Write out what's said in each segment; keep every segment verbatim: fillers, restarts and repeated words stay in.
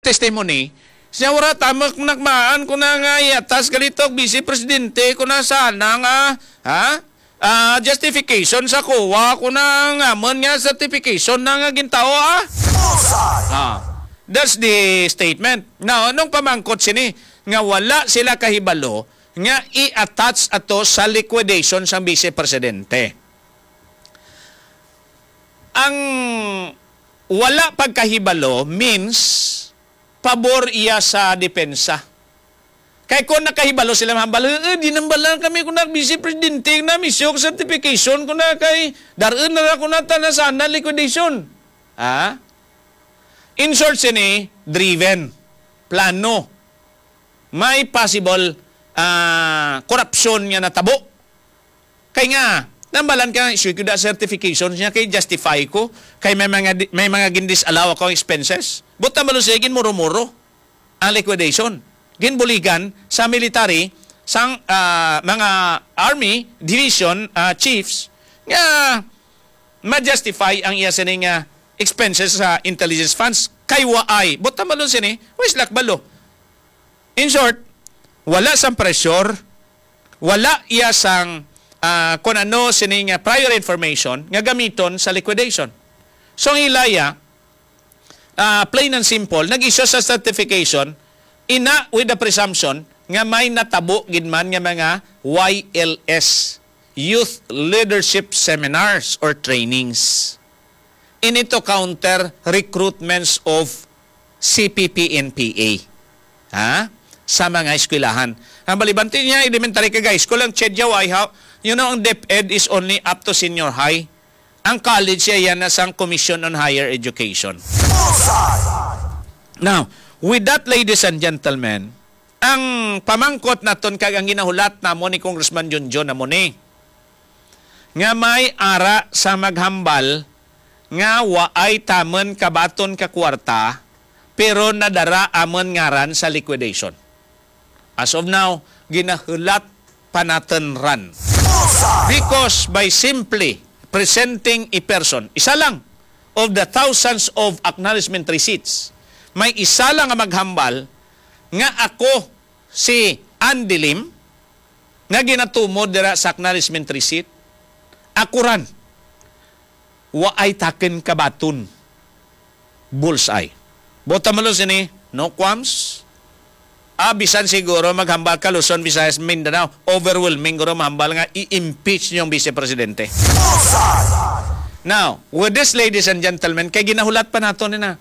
testimony, siya wala tamak nakmaan ko na nga i-attach ka dito, Vice Presidente, ko na sana nga, ha? Ah, justification sa kuha ko na nga man nga certification na nga gintawo, ah? Bullseye! Ah, that's the statement. Now, anong pamangkot sini? Nga wala sila kahibalo nga i-attach ato sa liquidation sang Vice Presidente. Ang wala pagkahibalo means pabor iya sa depensa. Kay kung nakahibalo sila mahambal, "Eh, eh, di nang bala kami kung na-, Vice Presidente na misyo ko certification ko na kay dar-un na ako na ta na sana liquidation." Ah? In short, sini, driven. Plano. May possible, ah, korupsyon nga natabo. Kay nga, nambalan ka, "Issue ko da certification niya kay justify ko, kay may mga di-, may mga gindis-allow ako ang expenses." Buta malo siya, ginmuro-muro ang liquidation. Ginbuligan sa military, sang, ah, mga army division, ah, chiefs, nga ma-justify ang iya sini nga expenses sa intelligence funds. Kay waay. Buta malo sini, wais lakbalo. In short, wala sang pressure, wala iya sang, ah, kung ano sini nga prior information nga gamiton sa liquidation. So, ang ilaya, ah, plain and simple, nag-issue sa certification, ina with the presumption nga may natabo gid man nga mga Y L S, Youth Leadership Seminars or Trainings. Ini to counter recruitments of C P P N P A, ha? Sa mga eskwelahan. Ang balibanti niya, elementary kag high school, ang CHED ya, why, how? You know, ang DepEd is only up to senior high. Ang college siya yan na sang Commission on Higher Education. Bullseye! Now, with that, ladies and gentlemen, ang pamangkot naton kag ang ginahulat namo ni Congressman Junjun namo ni, nga may ara sa maghambal nga waay tamon kabaton ka kwarta, pero nadara amon ngaran sa liquidation. As of now, ginahulat pa naton ran. Because by simply presenting a person, isa lang of the thousands of acknowledgement receipts, may isa lang nga maghambal nga ako si Andy Lim, nga ginatumod dira sa acknowledgement receipt, ako ran. Waay takon kabaton. Bullseye. Bota malo sini, no qualms. Ah, bisan siguro maghambal ka Luzon, Visayas, Mindanao, overwhelming guro mahambal nga i-impeach niyo ang Vice Presidente. Bullseye! Now, with this, ladies and gentlemen, kay ginahulat pa nato ni na,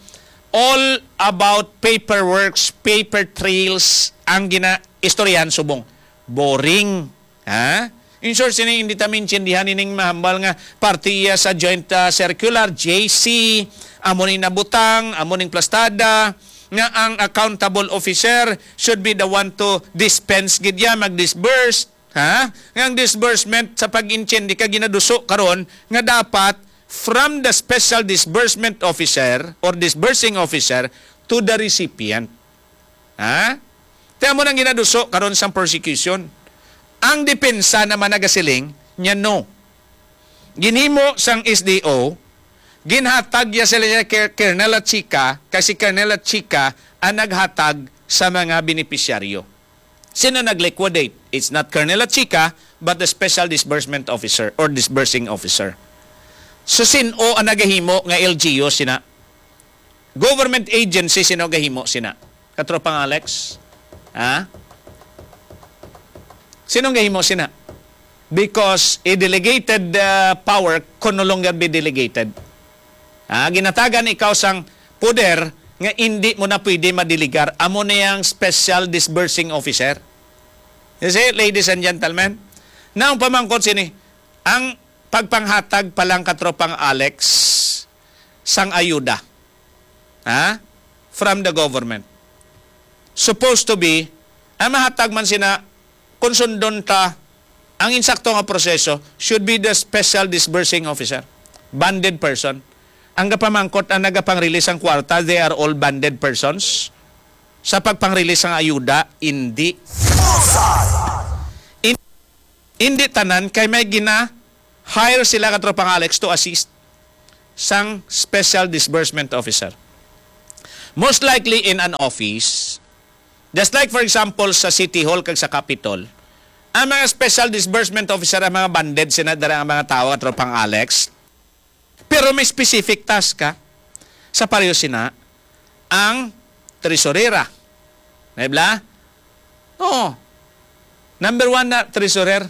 all about paperworks, paper trails ang ginaistoryahan subong. Boring. Ha? In short, sini hindi ta maintindihan ining mahambal nga parte iya sa joint, ah, circular, J C, amo ning nabutang, amo ning plastada, nga ang accountable officer should be the one to dispense gid ya, mag-disburse, ha? Nga ang disbursement sa pag-intindi ka ginaduso karon nga dapat from the special disbursement officer or disbursing officer to the recipient. Ha? Kaya mo nang ginaduso karon sang prosecution. Ang depensa naman nagasiling niya, no. Ginhimo sang S D O, ginhatag ya sila niya kay Colonel Chica, kay si Colonel Chica ang naghatag sa mga benepisyaryo. Sino nag-liquidate? It's not Colonel Chica, but the special disbursement officer or disbursing officer. So, sino ang nagahimo nga L G U sina? Government agency, sino gahimo sina? Katropang Alex? Ha? Sino gahimo sina? Because a delegated, uh, power can no longer be delegated. Ha? Ginatagan ikaw sang poder nga indi mo na pwede madelegar. Amo na yang special disbursing officer. You see, ladies and gentlemen? Now, pamangkot sini, ang pagpanghatag pa lang, Katropang Alex, sang ayuda, ha? From the government. Supposed to be, ang mahatag man sina, kung sundon ta, ang insakto nga proseso should be the special disbursing officer, banded person. Ang gapamangkot, ang nagapang-release ang kwarta, they are all banded persons. Sa pagpang-release ang ayuda, hindi. Bullseye! In-, hindi tanan kay may gina-hire sila, Katropang Alex, to assist sang special disbursement officer. Most likely in an office, just like, for example, sa City Hall kag sa Capitol, ang mga special disbursement officer, ang mga banded sina dira, ang mga tawo, Katropang Alex. Pero may specific task ka sa pareho sina ang tresurera. Di ba? Oo. Number one na treasurer.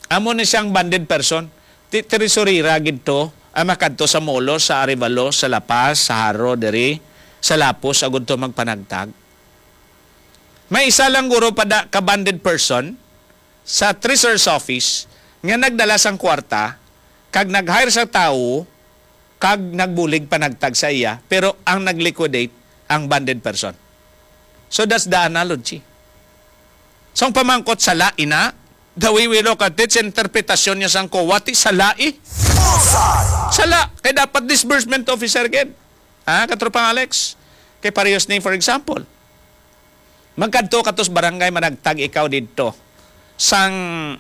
Amo ni siyang banded person. Ti-, tresurera gid to ang makadto sa Molo, sa Arevalo, sa La Paz, sa Jaro, diri sa Lapus, agud to magpanagtag. May isa lang guro pa da ka banded person sa treasurer's office nga nagdala sang kwarta kag nag-hire sa tawo kag nagbulig panagtag sa iya, pero ang nag-liquidate ang banded person. So that's the analogy. Sa pamangkot, sala ina, the way we look at it, sa interpretasyon niya sang COA, ti sala eh. Sala, kay dapat disbursement officer gid. Ha, Katropang Alex? Kay parehas ni, for example, magkadto ka tos barangay, managtag ikaw didto sang,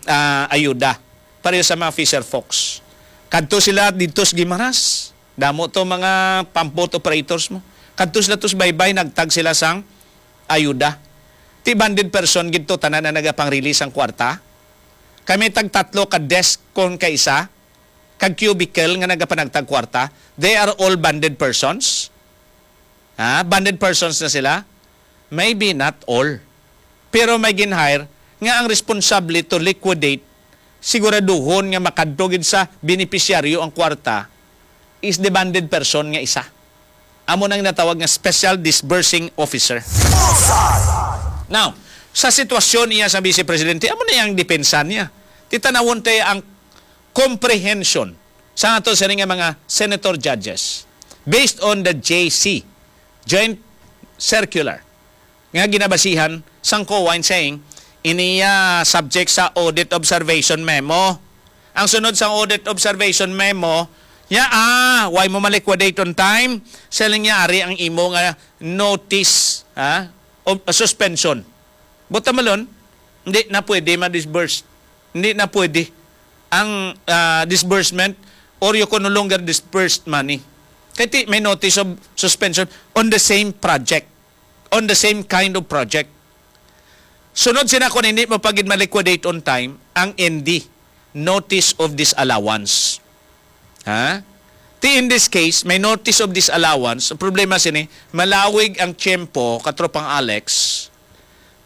ah, ayuda, pareho sa mga fisher folks. Kadto sila didto sa Guimaras. Damo to mga pump boat operators mo. Kadto sila tos baybay, nagtag sila sang ayuda. Ti banded person gid to, tanan na nagapang-release ang kwarta. Kami tagtatlo ka desk kon kaisa, kag cubicle nga nagapanagtag kwarta. They are all banded persons. Ha? Banded persons na sila? Maybe not all. Pero may gin-hire nga ang responsable to liquidate, siguraduhon nga makadto gid sa benepisyaryo ang kwarta, is the banded person nga isa. Amo nang natawag nga special disbursing officer. Now, sa sitwasyon niya sa Vice Presidente, amo na ang depensa niya. Titanawon tayo ang comprehension sa ato sini nga mga senator judges based on the J C, Joint Circular, nga ginabasihan sang COA in saying, iniya subject sa audit observation memo. Ang sunod sang audit observation memo, ya, ah, why mo ma-liquidate on time? Siling niya, ari ang imo nga notice, ha? O, suspension. Buta malon, hindi na pwede ma-disburse. Hindi na pwede ang, ah, disbursement, or you can no longer disburse money. Kay ti, may notice of suspension on the same project, on the same kind of project. Sunod sina, kung hindi mo pa gid ma-liquidate on time, ang N D, notice of disallowance. Ha? Ti, in this case, may notice of disallowance. Ang problema sini, malawig ang tiyempo, Katropang Alex,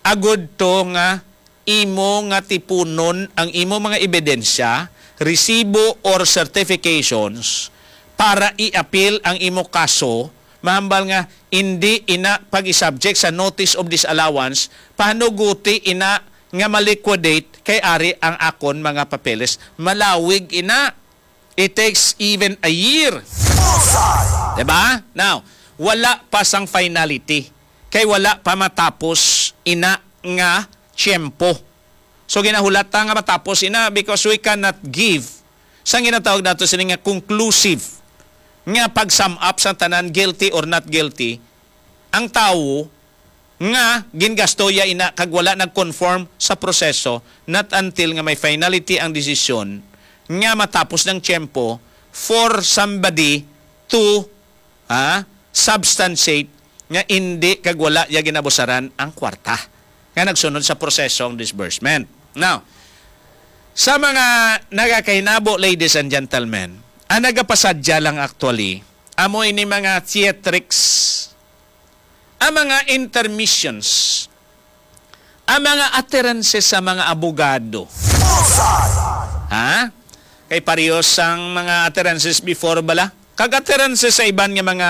agud to nga imo nga tipunon ang imo mga ebidensya, resibo or certifications para i-appeal ang imo kaso, mahambal nga indi ina pag-i-subject sa notice of disallowance, pahanuguti ina nga ma-liquidate kay ari ang akon mga papeles. Malawig ina. It takes even a year. Diba? Now, wala pa sang finality. Kay wala pa matapos ina nga tiyempo. So, ginahulata nga matapos ina because we cannot give sang ginatawag nato sini nga conclusive nga pag-sum up sa tanan, guilty or not guilty, ang tawo nga gingastoya ina kag wala nag-conform sa proseso, not until nga may finality ang desisyon nga matapos ng tiyempo for somebody to, ah, substantiate nga indi kag wala ya ginabusaran ang kwarta nga nagsunod sa proseso ang disbursement. Now, sa mga nagakahinabo, ladies and gentlemen, ang nagapasadya lang actually, amo ini mga theatrics, ang mga intermissions, ang mga utterances sa mga abogado. Ha? Kay parehas ang mga utterances before bala. Kag utterances sa iban nga mga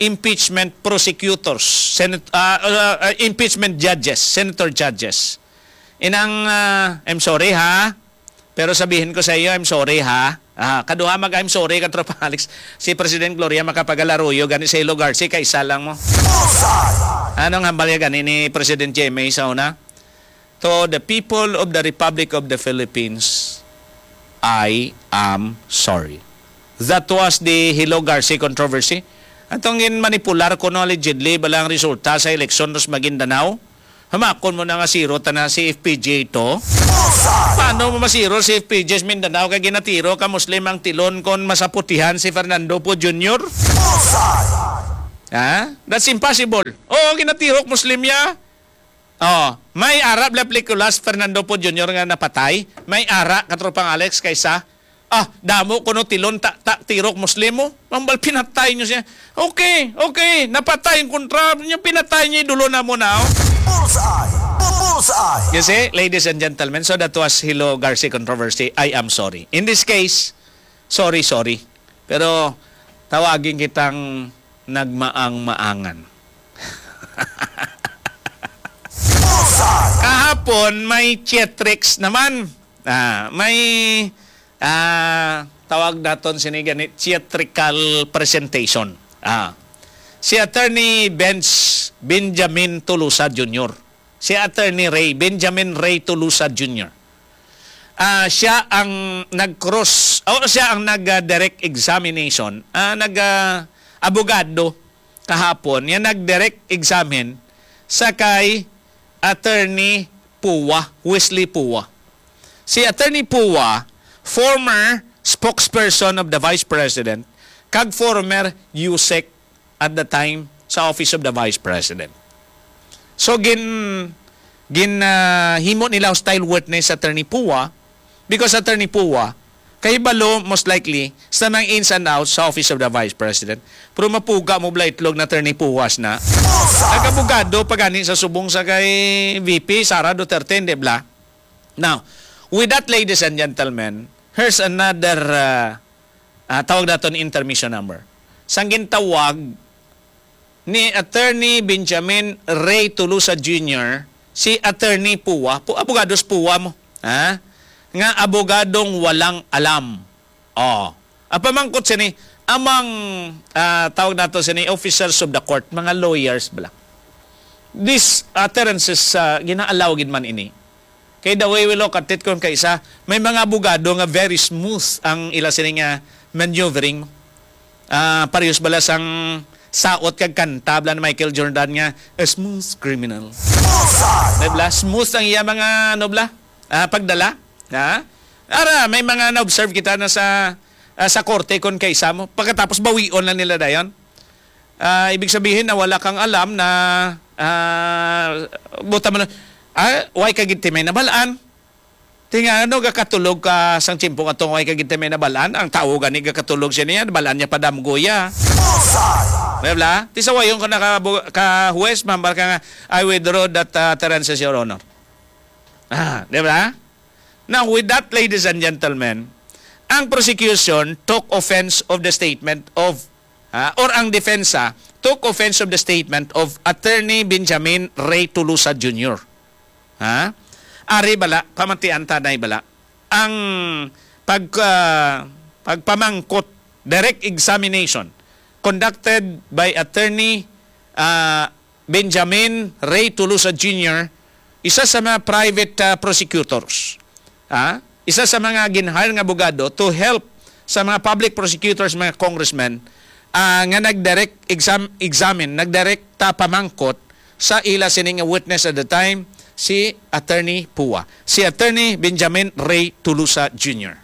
impeachment prosecutors, senat-, ah, ah, ah, impeachment judges, senator judges. Inang, ah, I'm sorry ha, pero sabihin ko sa iyo, I'm sorry ha. Ah, kaduha mag I'm sorry, Katropang Alex. Si President Gloria Macapagal-Arroyo gani sa Hilo Garci, kaisa lang mo. Anong hambal niya gani ni President J M A sa una? To the people of the Republic of the Philippines, I am sorry. That was the Hilo Garci controversy. Atong ginmanipular kuno allegedly bala ang resulta sa eleksyon sa Maguindanao. Hamakon mo na nga zero ta na si F P J to. Paano mo ma-zero si F P J sa Mindanao kay ginatiro ka Muslim ang tilon kon masaputihan si Fernando Poe Junior? Ha? That's impossible. Oo, ginatirok Muslim niya. Oh, may ara bala pelikulas Fernando Poe Junior nga napatay. May ara, Katropang Alex, kaysa, ah, damo kuno tilon ta, ta, tirok Muslim mo. Mambal pinatay niyo siya. Okay, okay, napatay ang kontra niyo, pinatay niyo, idolo na mo na, oh. Bullseye! Bullseye! You see, ladies and gentlemen, so that was Hilo Garci controversy. I am sorry. In this case, sorry, sorry. Pero tawagin kitang nagmaang-maangan. Bullseye! Kahapon, may theatrics naman. Ah, may, ah, tawag naton sini gani, theatrical presentation. Ah, si Attorney Benz Benjamin Tolosa Junior. Si Attorney Ray, Benjamin Ray Tolosa Junior. Ah, siya ang nag-cross, o siya ang nag-direct examination, ah, nag, ah, abogado kahapon, nga nag-direct examine sa kay Attorney Pua, Wesley Pua. Si Attorney Pua, former spokesperson of the Vice President, kag former USEC at the time sa Office of the Vice President. So, gin, gin, ah, himo nila hostile witness si Attorney Pua, because Attorney Pua, kahibalo, most likely, sa mga ins and outs sa Office of the Vice President. Pero mapuga mo bala itlog na Attorney Puas na. Nag-abogado pa gani sa subong sa kay V P Sara Duterte, di bala? Now, with that, ladies and gentlemen, here's another, ah, ah, tawag naton intermission number. Sang gintawag ni Attorney Benjamin Ray Tolosa Junior si Attorney Pua, pu-, abogados Pua mo, ha? Nga abogadong walang alam. Oh. Ang pamangkot sini, among, ah, tawag nato sini, officers of the court, mga lawyers bala. This utterances, ah, gina-allow gid man ini. Kay the way we look at it, kung kaisa, may mga abogado nga very smooth ang ila sini nga maneuvering. Ah, parehas bala sang saot kag kanta bala ni Michael Jordan nga, "A smooth criminal." Bullseye! Di bala? Smooth ang iya mga, ano bala? Ah, pagdala. Ha? Ara, may mga na-observe kita na sa, ah, sa korte kon kaisa mo. Pagkatapos, bawion lang nila dayon. Ah, ibig sabihin na wala kang alam na, ah, buta mo na, ah, why ka gid ti may nabalaan? Ti nga ano, gakatulog ka sang tiyempo nga tong why ka gid ti may nabalaan? Ang tawo gani gakatulog siya niya, nabalaan niya pa damgo ya. Bullseye! Di bala? Ti sawayon ka na ka, ka huwes, mambal ka nga, "I withdraw that, ah, utterances, Your Honor." Ah, di bala? Now, with that, ladies and gentlemen, ang prosecution took offense of the statement of, ah, or ang depensa took offense of the statement of Attorney Benjamin Ray Tolosa Junior. Ha? Ari bala, pamatian ta na bala. Ang pag, ah, pagpamangkot, direct examination, conducted by Attorney, ah, Benjamin Ray Tolosa Junior, isa sa mga private, ah, prosecutors, ah, isa sa mga gin-hire nga abogado to help sa mga public prosecutors, mga congressmen, ah, nga nag-direct exam-, examine, nagdirekta pamangkot sa ila sini nga witness at the time, si Attorney Pua, si Attorney Benjamin Ray Tolosa Junior.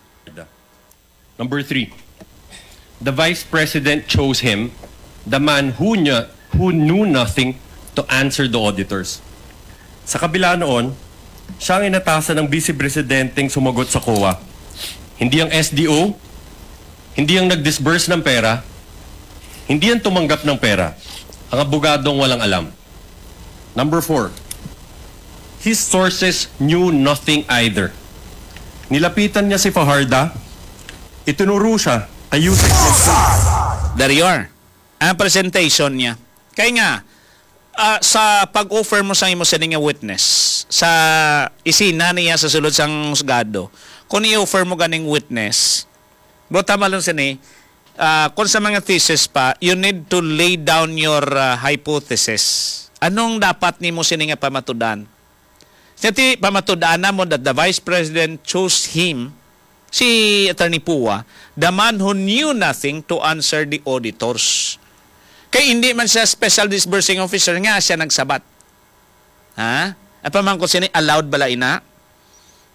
Number three, the Vice President chose him, the man who knew, who knew nothing, to answer the auditors. Sa kabila noon, siya ang inatasan ng Vice Presidenteng sumagot sa COA. Hindi ang S D O, hindi ang nag-disburse ng pera, hindi ang tumanggap ng pera, ang abogadong walang alam. Number four, his sources knew nothing either. Nilapitan niya si Fajarda, itinuro siya kay Yusek Mendoza. There you are. Ang presentation niya. Kay nga, ah, sa pag-offer mo sa imo sini nga witness, sa isina niya sa sulod sang husgado, kung i-offer mo ganing witness, buta malon sini, ah, kung sa mga thesis pa, you need to lay down your, ah, hypothesis. Anong dapat nimo sini nga pamatudan? Sa ti pamatud-an namon that the Vice President chose him, si Attorney Pua, the man who knew nothing, to answer the auditors. Kay hindi man siya special disbursing officer nga siya nagsabat. Ha? Ang pamangkot sini, allowed bala ina?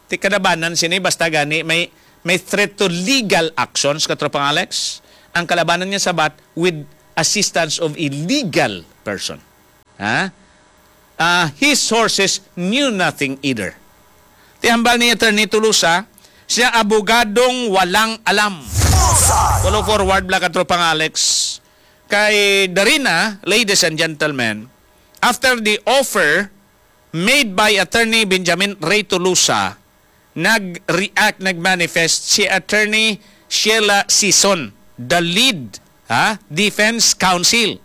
Ti kalabanan sini, basta gani may, may threat to legal actions, Katropang Alex. Ang kalabanan niya sabat with assistance of a legal person. Ha? Ah, his sources knew nothing either. Ti hambal ni Attorney Tolosa, siya abogadong walang alam. Follow forward, Black Katropang Alex. Kay Darina, ladies and gentlemen, after the offer made by Attorney Benjamin Ray Tolosa, nag-react, nag-manifest si Attorney Sheila Sison, the lead, ha, defense counsel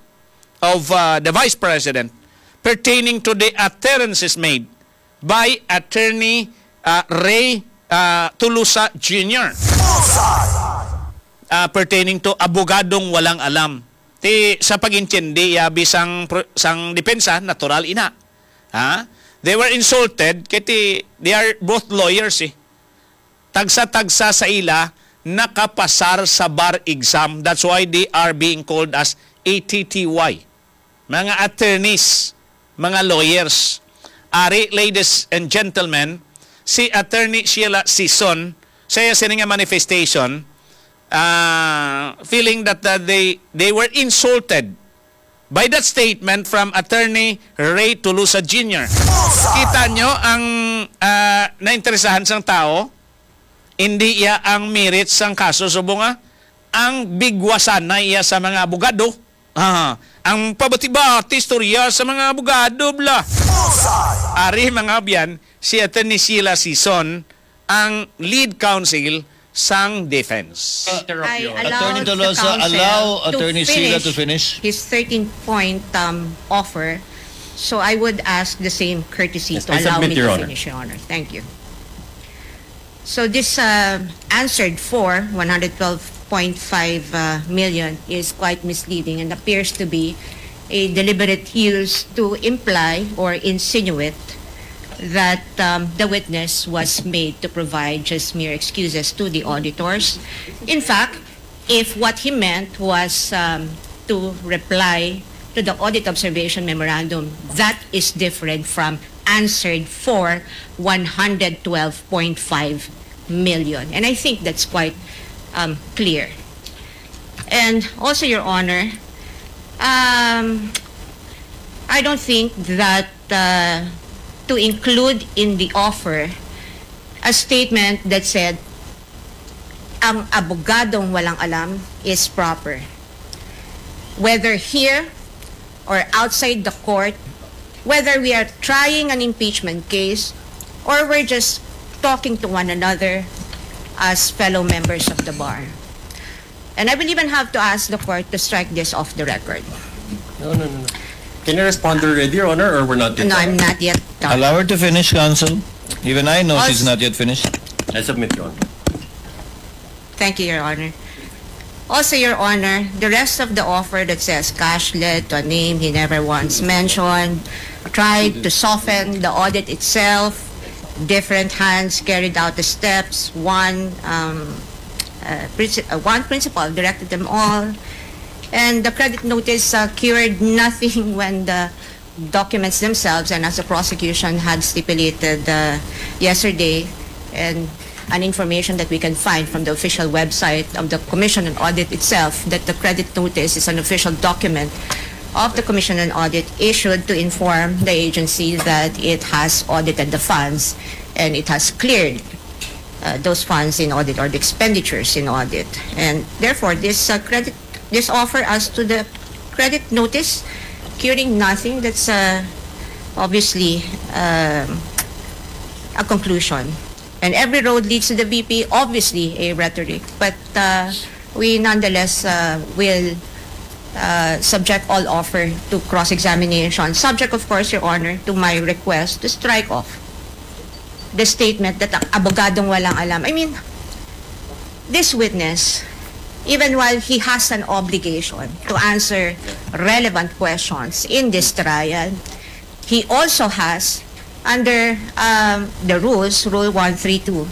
of, uh, the Vice President pertaining to the utterances made by Attorney, uh, Ray, uh, Tolosa Junior, uh, pertaining to abogadong walang alam. Ti sa pag-intindi ya bisang pro-, sang depensa, natural ina. Ha? They were insulted kay ti, they are both lawyers eh. Tagsa-tagsa sa ila nakapasar sa bar exam. That's why they are being called as A T T Y. Mga attorneys, mga lawyers. Ari, ladies and gentlemen, si Attorney Sheila Sison, sa iya sini nga manifestation, ah, feeling that, uh, they, they were insulted by that statement from Attorney Ray Tolosa Junior. Kita nyo ang, ah, nainteresahan sang tao, hindi iya ang merit sang kaso, subong nga ang bigwasan na iya sa mga abogado. Ah, ang pabati-bati istorya sa mga abogado, bla. Ari, mga abyan, si Attorney Sheila Sison ang lead counsel sang defense. Interrupt I you. Allow Attorney the Tolosa, counsel allow to Attorney Sheila to finish finish. His thirteen-point, um, offer. So I would ask the same courtesy Yes, to I allow submit, me Your to Honor. Finish, Your Honor. Thank you. So this, uh, answered for one hundred twelve point five, uh, million is quite misleading and appears to be a deliberate use to imply or insinuate that, um, the witness was made to provide just mere excuses to the auditors. In fact, if what he meant was, um, to reply to the audit observation memorandum, that is different from answered for one hundred twelve point five million. And I think that's quite, um, clear. And also, Your Honor, um, I don't think that, uh, to include in the offer a statement that said, "Ang abogadong walang alam is proper." Whether here or outside the court, whether we are trying an impeachment case or we're just talking to one another as fellow members of the bar. And I will even have to ask the court to strike this off the record. No, no, no, no. Can you respond already, Your Honor, or we're not yet No, done? I'm not yet done. Allow her to finish, counsel. Even I know she's Also not yet finished. I submit, Your Honor. Thank you, Your Honor. Also, Your Honor, the rest of the offer that says cashlet to a name he never once mentioned, tried to soften the audit itself, different hands carried out the steps, one, um, uh, princi-, uh, one principal directed them all, and the credit notice, uh, cured nothing when the documents themselves, and as the prosecution had stipulated, uh, yesterday, and an information that we can find from the official website of the Commission on Audit itself, that the credit notice is an official document of the Commission on Audit issued to inform the agency that it has audited the funds and it has cleared, uh, those funds in audit or the expenditures in audit. And therefore, this, uh, credit, this offer as to the credit notice, curing nothing, that's, uh, obviously, um, a conclusion. And every road leads to the V P, obviously a rhetoric. But, uh, we nonetheless, uh, will, uh, subject all offer to cross-examination, subject, of course, Your Honor, to my request to strike off the statement that ang abogadong walang alam. I mean, this witness, even while he has an obligation to answer relevant questions in this trial, he also has, under, um, the rules, Rule one three two,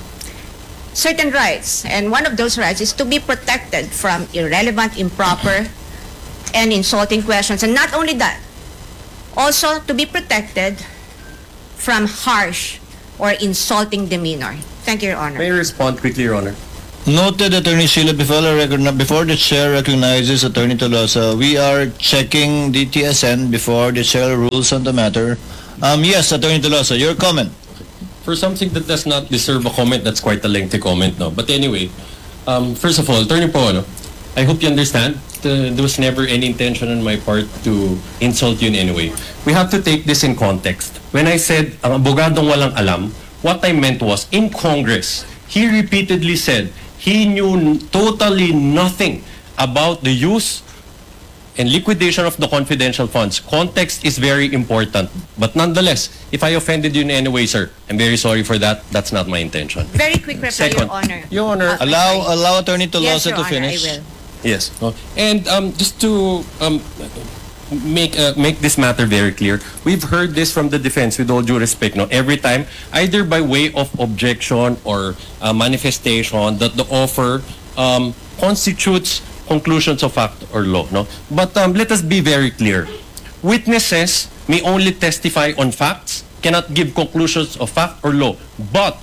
certain rights. And one of those rights is to be protected from irrelevant, improper, and insulting questions. And not only that, also to be protected from harsh or insulting demeanor. Thank you, Your Honor. May I respond quickly, Your Honor? Noted, Attorney Sheila. Before the record, before the chair recognizes Attorney Tolosa, we are checking the T S N before the chair rules on the matter. Um, yes, Attorney Tolosa, your comment. For something that does not deserve a comment, that's quite a lengthy comment, no? But anyway, um, first of all, Attorney Poa, no? I hope you understand, uh, there was never any intention on my part to insult you in any way. We have to take this in context. When I said, ang abogadong walang alam, what I meant was, in Congress, he repeatedly said he knew n- totally nothing about the use and liquidation of the confidential funds. Context is very important. But nonetheless, if I offended you in any way, sir, I'm very sorry for that. That's not my intention. Very quick reply, Second. Your Honor. Your Honor. Uh, Allow I- allow Attorney Yes, Tolosa Your to Honor, finish. I will. Yes. No? And um, just to um, make uh, make this matter very clear, we've heard this from the defense. With all due respect, no, every time, either by way of objection or uh, manifestation, that the offer um, constitutes conclusions of fact or law. No, but um, let us be very clear. Witnesses may only testify on facts, cannot give conclusions of fact or law. But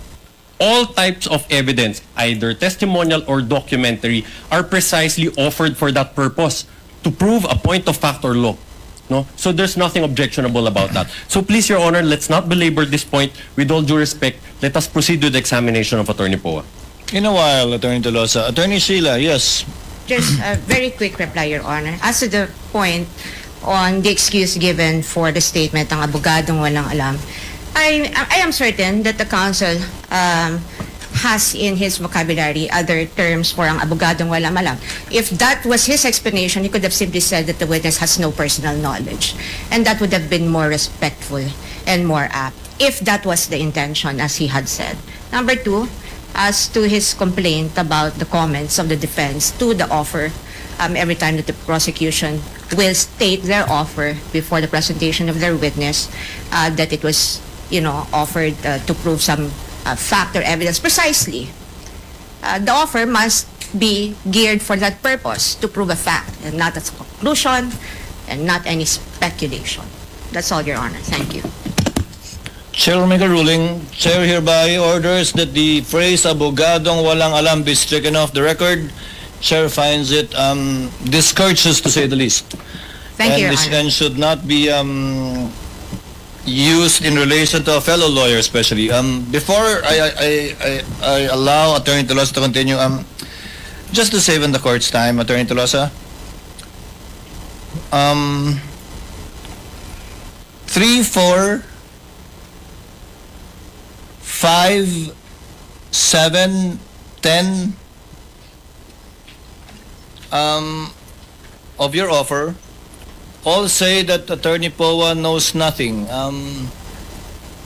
all types of evidence, either testimonial or documentary, are precisely offered for that purpose, to prove a point of fact or law. No? So there's nothing objectionable about that. So please, Your Honor, let's not belabor this point. With all due respect, let us proceed with the examination of Attorney Poa. In a while, Attorney Tolosa. Attorney Sheila, yes. Just a very quick reply, Your Honor. As to the point on the excuse given for the statement ng abogadong walang alam, I, I am certain that the counsel um, has in his vocabulary other terms for ang abogadong walang alam. If that was his explanation, he could have simply said that the witness has no personal knowledge. And that would have been more respectful and more apt if that was the intention, as he had said. Number two, as to his complaint about the comments of the defense to the offer, um, every time that the prosecution will state their offer before the presentation of their witness, uh, that it was, you know, offered uh, to prove some uh, fact or evidence. Precisely, uh, the offer must be geared for that purpose, to prove a fact and not as a conclusion and not any speculation. That's all, Your Honor. Thank you. Chair will make a ruling. Chair hereby orders that the phrase abogadong walang alam be stricken off the record. Chair finds it um, discourteous, to say the least. Thank and, you, Your this- Honor. And should not be um, used in relation to a fellow lawyer, especially. Um, before I, I, I, I allow Attorney Tolosa to continue, um, just to save on the court's time, Attorney Tolosa, um, three, four, five, seven, ten, um, of your offer all say that Attorney Poa knows nothing. Um,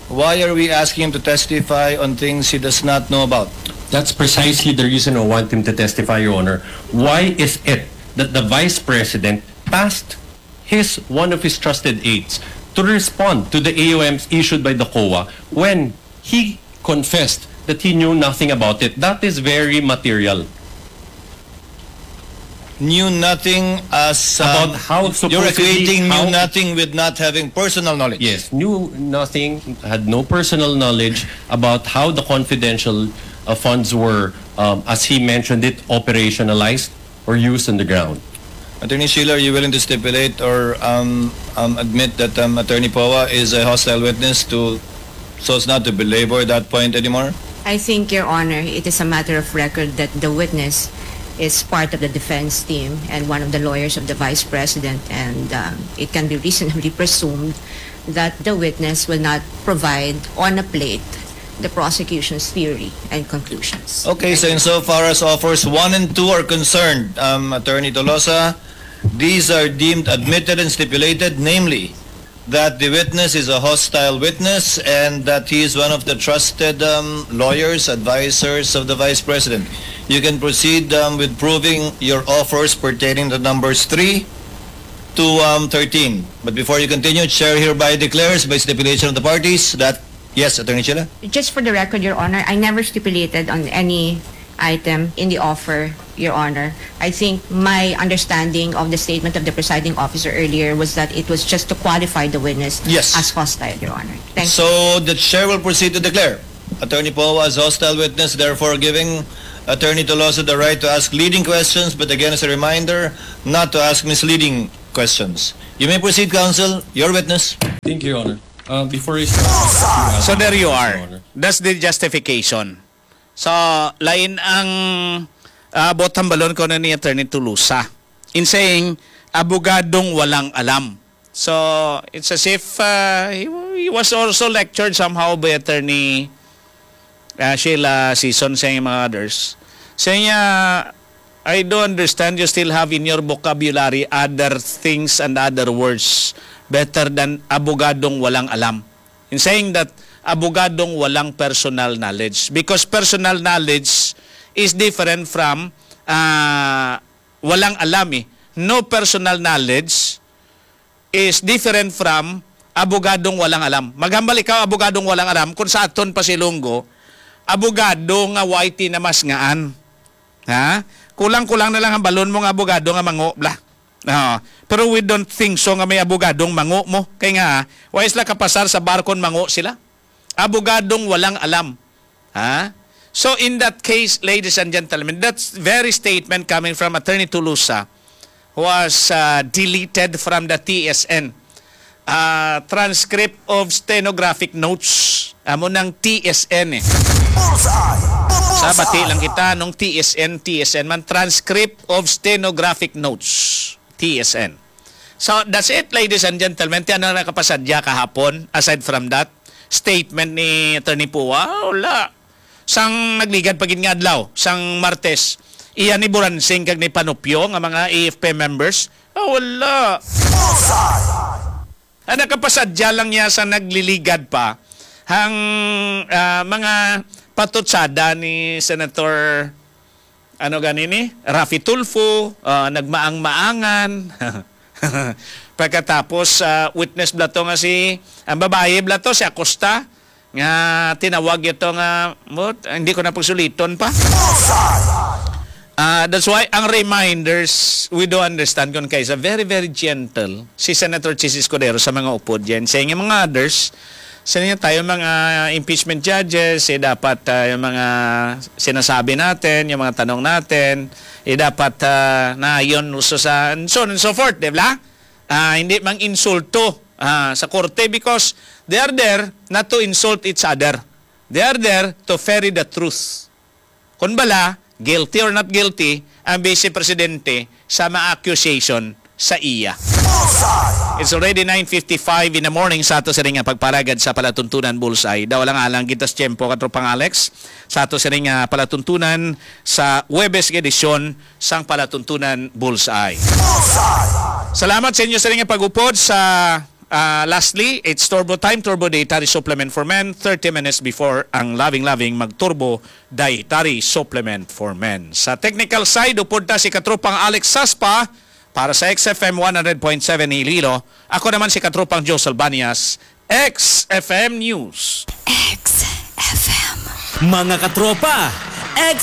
why are we asking him to testify on things he does not know about? That's precisely the reason I want him to testify, Your Honor. Why is it that the Vice President tasked his one of his trusted aides to respond to the A O Ms issued by the COA when he confessed that he knew nothing about it? That is very material. Knew nothing as um, About how you're supposedly equating how- knew nothing with not having personal knowledge. Yes, knew nothing, had no personal knowledge about how the confidential uh, funds were, um, as he mentioned it, operationalized or used on the ground. Attorney Sheila, are you willing to stipulate or um, um, admit that um, Attorney Poa is a hostile witness to, so as not to belabor that point anymore? I think, Your Honor, it is a matter of record that the witness is part of the defense team and one of the lawyers of the vice president, and um, it can be reasonably presumed that the witness will not provide on a plate the prosecution's theory and conclusions. Okay, so insofar as offers one and two are concerned, um, Attorney Tolosa, these are deemed admitted and stipulated, namely that the witness is a hostile witness and that he is one of the trusted um, lawyers, advisors of the Vice President. You can proceed um, with proving your offers pertaining to numbers three to um, thirteen. But before you continue, Chair hereby declares by stipulation of the parties that, yes, Attorney Sheila? Just for the record, Your Honor, I never stipulated on any item in the offer, Your Honor. I think my understanding of the statement of the presiding officer earlier was that it was just to qualify the witness Yes. as hostile, Your Honor. Thank you. So the chair will proceed to declare Attorney Poa as hostile witness, therefore giving Attorney Tolosa the right to ask leading questions, but again, as a reminder, not to ask misleading questions. You may proceed, counsel. Your witness. Thank you, Your Honor. Uh, before I start, So there you Your are. Honor. That's the justification. So, lain ang uh, bot hambalon ko na ni Attorney Tolosa in saying, abogadong walang alam. So, it's as if uh, he, he was also lectured somehow by Attorney uh, Sheila Sison sa mga others. Sa niya, I do understand you still have in your vocabulary other things and other words better than abogadong walang alam. In saying that, abogadong walang personal knowledge. Because personal knowledge is different from uh, walang alam eh. No personal knowledge is different from abogadong walang alam. Maghambal ikaw, abogadong walang alam, kung sa aton pa si Lunggo, abogado nga way tinamasngaan. Ha? Kulang-kulang na lang ang balon mo nga abogado nga mango, bla. Ah, pero we don't think so nga may abogadong mango mo. Kay nga, way sila kapasar sa bar kon mango sila. Abogadong walang alam. Ha? So in that case, ladies and gentlemen, that very statement coming from Attorney Tolosa was uh, deleted from the T S N. Uh, transcript of stenographic notes. Amo ng T S N eh. Bullseye! Sa bati lang kita nung T S N, T S N man, transcript of stenographic notes. T S N. So that's it, ladies and gentlemen. Ti ano nakapasadya kahapon, aside from that statement ni Attorney Pua, wala. Sang nagligad pa gid nga adlaw, sang Martes, iya ni Buransing kag ni Panupyo nga mga A F P members, ah, wala. Bullseye! Ang nakapasadya lang niya sa nagliligad pa ang ah, mga patutsada ni Senator ano gani ni Raffy Tulfo, ah, nagmaang-maangan. Pagkatapos ah, witness bla to nga si ang babayi bla to si Acosta nga tinawag ito nga mo, hindi ko na pagsuliton pa. Bullseye! Ah, that's why ang reminders, we do understand kung kaysa very, very gentle si Senator Chiz Escudero sa mga upod dyan. Sa inyo mga others, sa inyo tayo mga impeachment judges, eh, dapat ah, yung mga sinasabi natin, yung mga tanong natin, eh, dapat ah, naayon uso sa and so on and so forth, di ba? Ah, hindi mang insulto ah, sa korte because they are there not to insult each other. They are there to ferry the truth. Kung bala, guilty or not guilty, ang Vice Presidente sa mga accusation sa iya. Bullseye! It's already nine fifty-five in the morning sa ato sining nga pagparagad sa palatuntunan Bullseye. Daw lang alang kita sa tiyempo, Katropang Alex, sa ato sining nga palatuntunan sa Huwebes nga edisyon sang palatuntunan Bullseye. Bullseye! Salamat sa inyo sining nga pag-upod sa ah, lastly, it's Turbo Time, Turbo Dietary Supplement for Men, thirty minutes before ang loving-loving mag-Turbo Dietary Supplement for Men. Sa technical side, upod ta si Katropang Alex Saspa para sa X F M one hundred point seven Iloilo. Ako naman si Katropang Joe Salbanias, X F M News. X F M. Mga katropa, X